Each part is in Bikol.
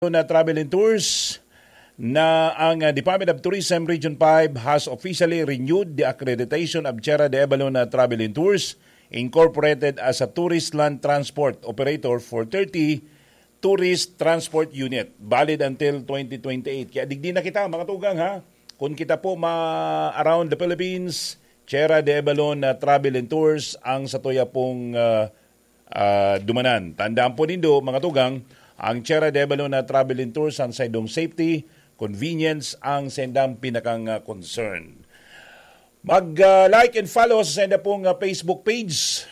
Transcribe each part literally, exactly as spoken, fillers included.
Abalon Travel and Tours na ang, uh, Department of Tourism Region five has officially renewed the accreditation of Tierra de Abalon Travel and Tours Incorporated as a tourist land transport operator for thirty tourist transport unit, valid until twenty twenty-eight. Kaya digdi na kita, mga tugang, ha? Kung kita po ma-around the Philippines, Tierra de Abalon Travel and Tours ang satuya pong, uh, uh, dumanan. Tandaan po nindo, mga tugang, ang Tierra de Abalon Travel and Tours ang saindong safety, convenience ang saindang pinakang, uh, concern. Mag, uh, like and follow sa sainda pong, uh, Facebook page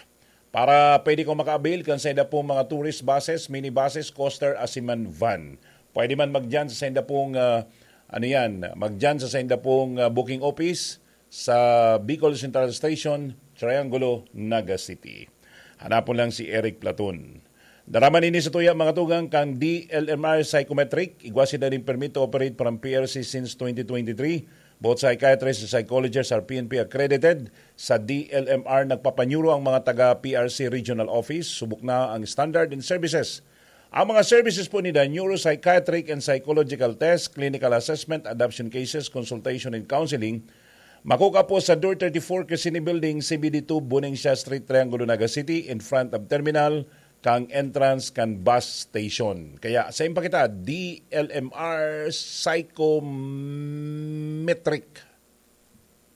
para pwede kong maka-avail kan sainda pong mga tourist buses, minibuses, coaster, asin man van. Pwede man magdiyan sa sainda pong, uh, ano yan, magdiyan sa sainda pong, uh, booking office sa Bicol Central Station, Triangulo, Naga City. Hanapon lang si Eric Platon. Daraman ini sa tuya, mga tugang, kan D L M R Psychometric. Igwa sinda nin permit to operate from P R C since twenty twenty-three. Both psychiatrists and psychologists are P N P accredited. Sa D L M R, nagpapanyuro ang mga taga P R C Regional Office. Subok na ang standard and services. Ang mga services po nila, neuropsychiatric and psychological test, clinical assessment, adoption cases, consultation and counseling, makukuha po sa Door thirty-four, Quezini Building, C B D two, Buenaventura Street, Triangulo, Naga City, in front of terminal, kan entrance kan bus station. Kaya, sa impakita, D L M R Psychometric.